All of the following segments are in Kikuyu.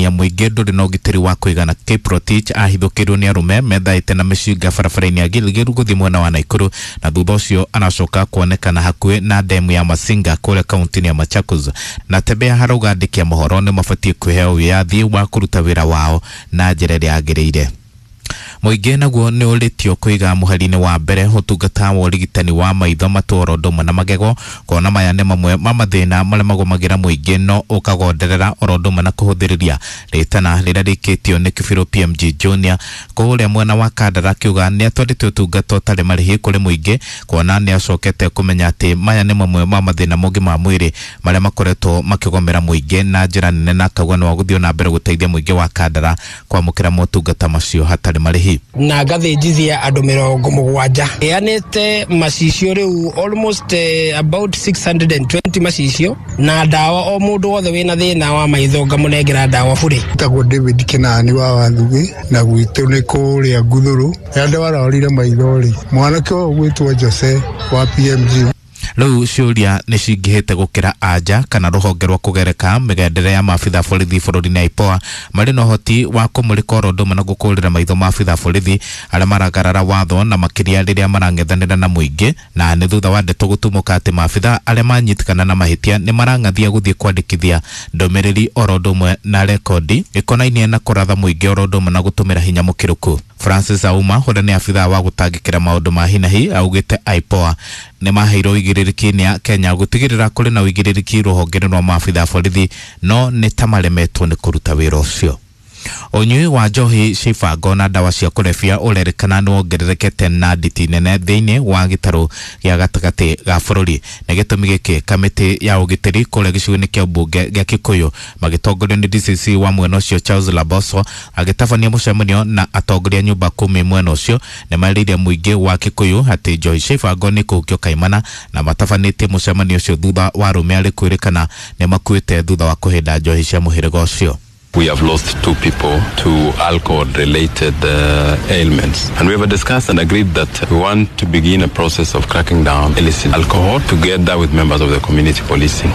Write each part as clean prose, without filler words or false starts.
kũririkania mũingĩ ndũrĩ na ũgitĩri wa kũigana. Kiprotich ahithũkĩirwo nĩ arũme methaĩte na mĩcinga barabara-inĩ ya Gilgil gũthiĩ mwena wa Nakuru, na thutha ũcio aracoka kuonekana hakuhĩ na demu ya Masinga kũrĩa kaunti-inĩ ya Machakos. Na Tembea harauga andĩki a mohoro nĩ mabatiĩ kwĩheo wĩyathi wa kũruta wĩra wao na njĩra ĩrĩa yagĩrĩire. Mũingĩ naguo nĩ ũrĩtio kũiga mũhari-inĩ wa mbere ũtungata wa ũrigitani wa maitho, matũ oro ũndũ ũmwe na magego, kuona maya nĩ mamwe ma mathĩna marĩa magũmagĩra mũingĩ no ũkagonderera oro ũndũ ũmwe na kũhũthĩrĩria rĩtana rĩrĩa rĩkĩtio nĩ Kĩbirũ PMG Junior kũrĩa mwena wa Kandara, akiuga nĩ atwarĩte ũtungata ũtarĩ marĩhi kũrĩ mũingĩ, kuona nĩ acokete kũmenya atĩ maya nĩ mamwe ma mathĩna mũngĩ ma mwĩrĩ marĩa makoretwo makĩgomera mũingĩ na njĩra nene, na akauga nĩ wa gũthiĩ na mbere gũteithia mũingĩ wa Kandara kwamũkĩra motungata macio hatarĩ marĩhi. Na ngathĩnjithia andũ 70, heanĩte macicio rĩu almost about 620 macicio na ndawa, o mũndũ wothe wĩna thĩna wa maitho ngamũnengera ndawa bure. Tagwo David Kinani wa Wathugĩ, na gwitũ nĩ kũrĩa Nguthũrũ. Rĩrĩa ndwarorire maitho rĩ, mwanake ũyũ ũgwĩtwo Jose wa PMG. Rĩu ciũria nĩ cingĩhĩte gũkĩra anja kana rũhonge rwa kũgereka mĩgendere ya maabitha borithi bũrũri-inĩ IPOA marĩ na ũhoti wa kũmũrĩka oro ũndũ ũmwe na gũkũrĩra maitho maabitha borithi arĩa maragarara watho, na makĩria rĩrĩa marang'ethanĩra na mũingĩ. Na nĩ thutha wa ndeto gũtumũka atĩ maabitha arĩa manyitĩkana na mahĩtia nĩ marang'athia gũthiĩ kwandĩkithia ndũmĩrĩri oro ũndũ ũmwe na rekondi ĩkonainie na kũratha mũingĩ oro ũndũ ũmwe na gũtũmĩra hinya mũkĩrũku. Francis Auma, ũrĩa nĩ abithaa wa gũtangĩkĩra maũndũ ma hinahi, augĩte IPOA nĩ maheirwo ũigĩrĩrĩki nĩ Kenya gũtigĩrĩra kũrĩ na ũigĩrĩrĩki rũhonge-inĩ rwa maabitha borithi, no nĩ ta maremetwo nĩ kũruta wĩra ũcio. Ũnyui wa njohi cia ibango na ndawa cia kũrebia ũrerĩkana nĩ wongererekete na nditi nene thĩinĩ wa gĩtarũ gĩa gatagatĩ ga bũrũri. Nĩ gĩtũmi gĩkĩ kamĩtĩ ya ũgitĩri kũrĩa gĩcigo-inĩ kĩa mbunge gĩa Kikuyu magĩtongorio nĩ DCC wa mwena ũcio Charles Laboso agĩtabania mũcemanio na atongoria nyũmba kumi mwena ũcio, nĩ marĩire mũingĩ wa Kikuyu atĩ njohi cia ibango nĩ kũhukio kaimana, na matabanĩtie mũcemanio ũcio thutha wa arũme arĩ kwĩrĩkana nĩ makuĩte thutha wa kũhĩnda njohi cia mũhĩrĩga ũcio. We have lost 2 people to alcohol-related ailments. And we have discussed and agreed that we want to begin a process of cracking down illicit alcohol together with members of the community policing.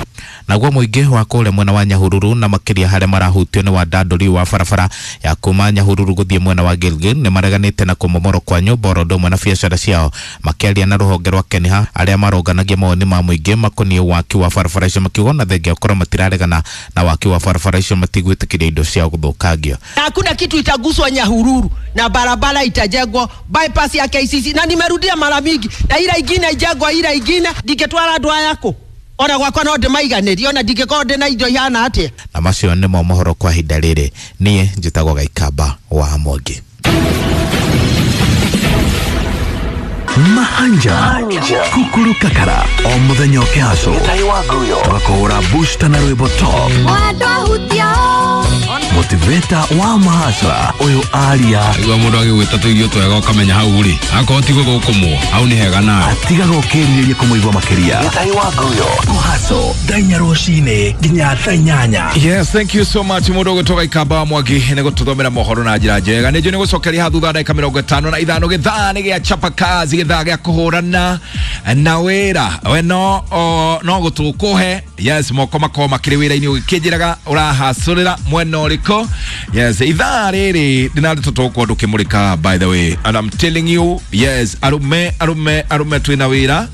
Naguo mũingĩ wa kũrĩa mwena wa Nyahururu na makĩria harĩa marahutio nĩ wandandũri wa barabara ya kuma Nyahururu gũthiĩ mwena wa Gilgil nĩ mareganĩte na kũmomorwo kwa nyũmba oro ũndũ ũmwe na biacara ciao. Makĩaria na rũhonge rwa Kenya arĩa maronganagia mawoni ma mũingĩ makoniĩ waki wa barabara icio, makiuga ona thengia gũkorwo matiraregana na waki wa barabara icio matigwĩtĩkĩria indo ciao gũthũkangio. Hakuna kitu itaguswa Nyahururu na barabara itajengwa bypass ya KCC, na nimerudia mara mingi, na ila ingine ijengwa, ila ingine ndingetwara andũ aya kũ ona gwakwa no ndĩmaiganĩrie, ona ndingĩkorwo ndĩna indo ihana atĩa. Na macio nĩmo mohoro kwa ihinda rĩrĩ. Niĩ njĩtagwo Gaikamba wa Mwangi. Mahanja Kukuru Kakara o muthenya ũkĩhacwo tũgakũhũra booster na rwĩmbo top motivator wa mahacra ũyũ aria igua mũndũ agĩgwĩta tũirio twega ũkamenya hau rĩ akorwo ti gũgũkũmwo hau nĩ hega nawe atigaga ũkĩrirĩria kũmũigua makĩria kũhaco thaa inya rũcinĩ nginya thaa inyanya. Yes, thank you so much mũndũ ũgwĩtwo Gaikamba wa Mwangi nĩ gũtũthomera mohoro na njĩra njega. Nĩ njũĩ nĩ gũcokeria haha thutha wa ndagĩka 55 gĩthaa nĩ gĩa chapa kazi, gĩthaa gĩa kũhũrana na wĩra we no no gũtũkũhe. Yes, moko makorwo makĩrĩ wĩra-inĩ ũgĩkĩnjĩraga ũrahacũrĩra mwena ũrĩkũ. Yes, ithaa rĩrĩ ndĩna tũtũkwo ndũkĩmũrĩka, by the way, and I'm telling you, yes, arũme arũme arũme twĩna wĩra,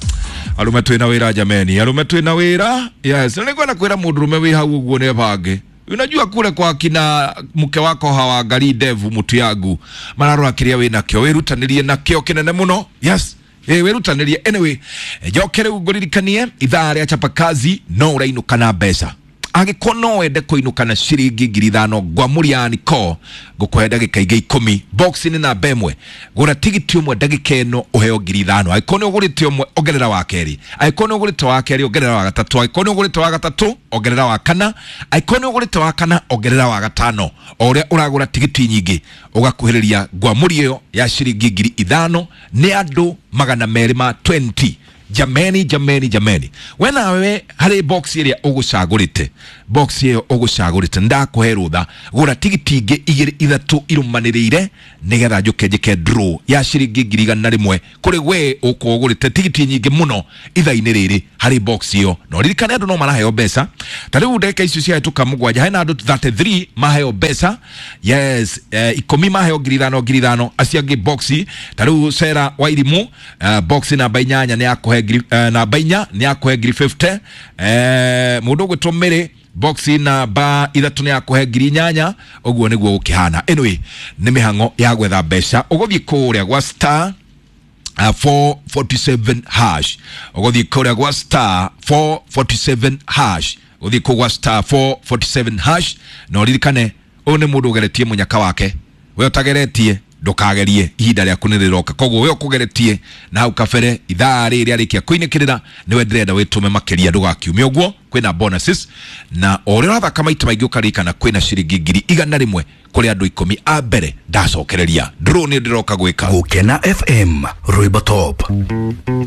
arume twĩna wĩra jameni, arume twĩna wĩra. Yes, na nĩngwenda kwĩra mũndũrũme wĩ hau ũguo nĩ bange. Unajua kule kwa kina mke wako hawaangalii ndevu mtu yangu, mararora kĩrĩa wĩnakĩo, wĩrutanĩrie nakĩo kĩnene mũno. Yes, wĩrutanĩrie. Anyway, njoke rĩu ngũririkanie ithaa rĩa chapa kazi no ũrainũka na mbeca. Angĩkorwo no wende kũinũka na ciringi 5,000 ngwamũria niko ngũkũhe ndagĩka ingĩ 10 box nĩ namba 1, gũra tigiti ũmwe ndagĩka ĩno ũheo 5,000. Angĩkorwo nĩ ũgũrĩte ũmwe ongerera wa kerĩ, angĩkorwo nĩ ũgũrĩte wa kerĩ ongerera wa gatatũ, angĩkorwo nĩ ũgũrĩte wa gatatũ ongerera wa kana, angĩkorwo nĩ ũgũrĩte wa kana ongerera wa gatano. O ũrĩa ũragũra tigiti nyingĩ ũgakuhĩrĩria ngwamũri ĩyo ya ciringi 5,000 nĩ andũ 220. Jameni, jameni, jameni, we nawe harĩ box ĩrĩa ũgũcagũrĩte Box ĩyo ũgũcagũrĩte, ndakũhe rũtha, gũra tigiti ingĩ igĩrĩ ithatũ irũmanĩrĩire nĩgetha njũke njĩke draw ya ciringi 100,000 kũrĩ we ũkorwo ũgũrĩte tigiti nyingĩ mũno ithaa-inĩ rĩrĩ harĩ box ĩyo. Na ũririkane andũ no maraheo mbeca ta rĩu ndagĩka icio ciahĩtũka 7, hena andũ 33 maheo mbeca. Yes, 10 maheo 5,000 5,000, acio angĩ boxi ta rĩu Sera wa Irimu, boxi namba 8 nĩ yakũhe ngiri, namba 4 nĩ yakũhe ngiri 50. Mũndũ ũgwĩtwo Mary, boxi namba 3 nĩ yakũhe ngiri 8. Ũguo nĩguo gũkĩhana. Anyway, nĩ mĩhang'o ya gwetha mbeca. Ũgũthiĩ kũrĩa gwa star 447 hash, ũgũthiĩ kũrĩa gwa star 447 hash, ũgũthiĩ kũu gwa star 447 hash. Na ũririkane ũyũ nĩ mũndũ ũgeretie mũnyaka wake. We ũtageretie ndũkagerie, ihinda rĩaku nĩ rĩroka. Koguo we ũkũgeretie na hau kabere ithaa rĩrĩ rĩarĩkia kũinĩkĩrĩra, nĩwe ndĩrenda wĩtũme makĩria, ndũgakiume ũguo. Kwĩna bonuses na o ũrĩa ũrathaka maita maingĩ ũkaririkana kwĩna ciringi 100,000 kũrĩ andũ 10 a mbere. Ndacokereria draw nĩ ndĩroka gwĩka. Gukena FM, rwimbo top.